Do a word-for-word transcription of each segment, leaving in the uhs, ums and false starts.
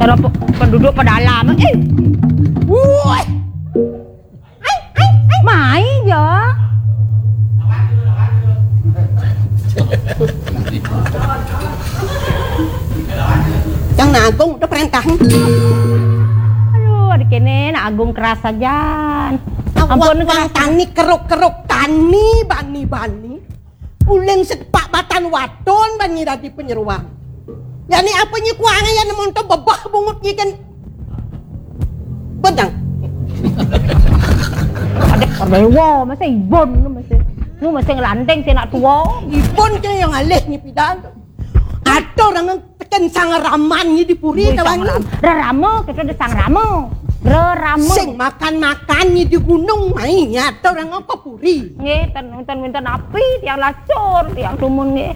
Cara pe-, penduduk pedalaman. Eh. Woi. Ai, ai, ai. Mai ja. Yang Nak Agung udah perintah. Aduh, ada kene Nak Agung keras saja. Ampun, wang, wang keras. Tani keruk-keruk, tani bani-bani. Uling sepak batan wadon bani dadi penyeruan. Ya ni apa nyi kuang ya nemu tu bebah bungut nyi kan. Bentang. Ada dewa, masa ibon tu masa. Nu masa ngelandeng si anak tua. Ibon ke yang alih nyi pidan tu. Ada orang teken sang raman nyi di puri. Wih, kawan sang nyi. Ram-, rerama, kita ada sang rama. Rerama. Sing makan-makan nyi di gunung mai, nyi ada orang ke puri. Nggih, ten, ten, ten api, tiang lacur, tiang dumun nggih.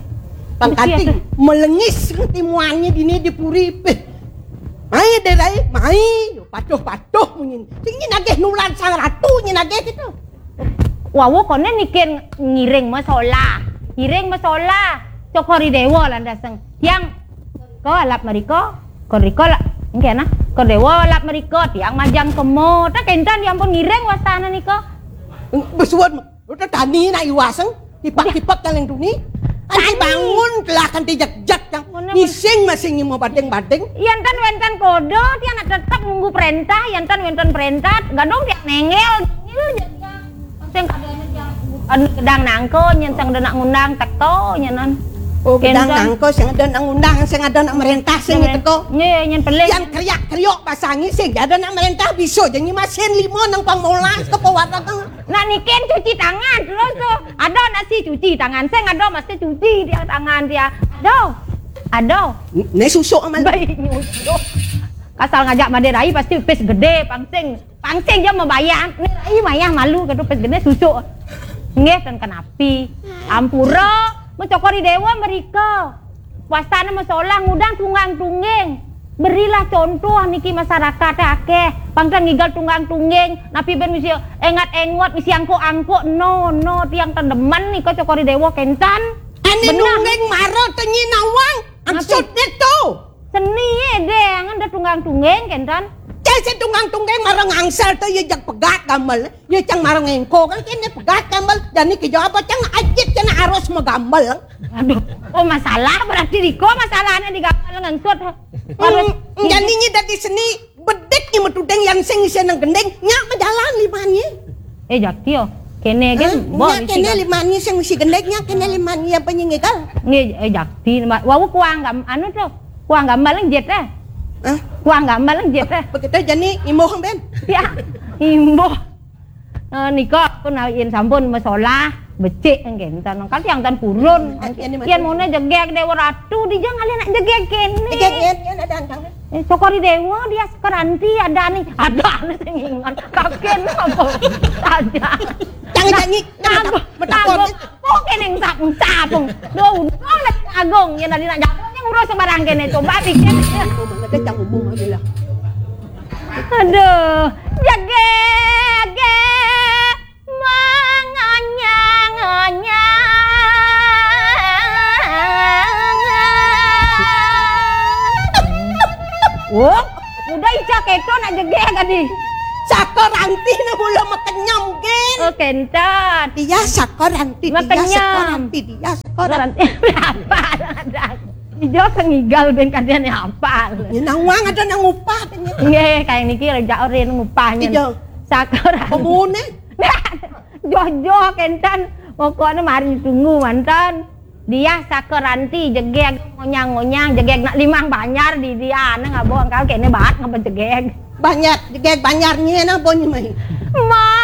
Pangkating, mesti ada. Melengis timuannya dini di puri, peh. Mai, Dek Rai, mai. Patuh-patuh munyin. Sing nyi nagih nulan sang ratu, nyi nagih gitu. Wawu konen nikin ngiring masolah. Ngiring masolah. Cokor I Dewa landaseng. Tiang ko alap merika, ko rika la, nggih nah. Ko Dewa alap merika, tiang majang kemo. Tak kentan tiang pun ngiring wastana nika. Besuwun, udah tani nak iwaseng, tipak-tipak kaleng duni. Anti tani. Bangun telah kanti jak-jak yang. Mana ngising masih ngimo badeng-badeng. Yen ten wenten kodo, tiang nak tetep nunggu perintah, yen ten wenten perintah, gadong tiang nengel, nengel je tiang. Sing kadang tiang, anu, gedang nangko, nyen sing ada nak ngundang teko, nyenan. Oh, gedang nangko, sing ada nak ngundang, sing ada nak merintah, sing teko. Nggih, nyen pelih. Yang kriak-kriok basah ngi, sing ada nak merintah, bisa je nyi masin lima nang pang molas ke pewarna. Nak nikin cuci tangan terus tu. Ada nak si cuci tangan, sing ada mesti cuci dia tangan dia. Ada. Ada. N-, ne susuk amal. Baik nyusuk. Kasal ngajak made rai pasti pis gede, pangsing. Pangsing je membayar. Ne rai mayah malu kadu pis gede susuk. Nggih, ten kenapi. Ampura, mencokori dewa merika. Wastane masolah ngundang tunggang-tungging. Berilah contoh niki masyarakat akeh. Pangkan ngigal tunggang-tungging, napi ben mesti engat-engot, mesti angkuk-angkuk. No, no, tiang tendemen nika cokori dewa kentan. Ane nungging mara tenyi nawang. Napi? Maksudnya tu. Seni ye, deng, ada tunggang-tungging kentan. Cai si tunggang-tungging mara ngangsel tu ye jak pegat gamel. Ye cang mara ngengko kan kene pegat gamel. Jani kejawab cang ajit kena arus megamel. Aduh, oh, masalah berarti diko masalahnya di gamel ngangsut. Harus. Hmm, jani nyi dadi seni bedik nyi metudeng yang sing isi nang gending, nya majalan limanye. Eh, jakti yo. Kene kan, hah? Nya kene limanye sing isi gending, nya kene limanye apa nyi ngigal? Nggih, eh, jakti. Wau kuang gam-, anu tu. Kuang gamel nang jet eh. Hah? Kuang gamel nang jet eh. Begitu jani imbuh ben. Ya, imbuh. Eh, nika pun yen sampun masolah, becik nggih, enten. Kan tiang tan purun. Eh, yen mone jegeg Dewa Ratu, dija ngalih nak jegeg kene. Jegeg yen, yen ada angkang. Eh, cokori dewa dia sekeranti ada ni. Ada ni sing ingat. Kaken apa? Saja. Jangan janji. Nah, metakon. Oh, kene ngusap-ngusap. Duh, untung lagi Agung. Yen tadi nak jago, yen ngurus sembarang kene. Coba pikir. Ngomong aja, jangan ngomong aja lah. Aduh, jegege menganyang-anyang. Oh, udah ica keto nak jegege tadi. Saka ranti nak mula makenyam, Gen. Oh, kentan. Dia saka ranti, dia saka ranti, dia saka ranti. Apa ada? Ijo sengigal ben kadean ya apa? Ya nawang ada nang ngupah. Nggih, kayak niki rejak ore nang ngupah nyen. Ijo. Saka ranti. Pemune. Jojo kentan. Pokoknya mari tunggu mantan. Dia saka ranti jegeg ngonyang-ngonyang jegeg nak limang banjar di dia nang abong kau kene baat ngapa jegeg. Banjar, jegeg banjar nyen apa nyi mai? Ma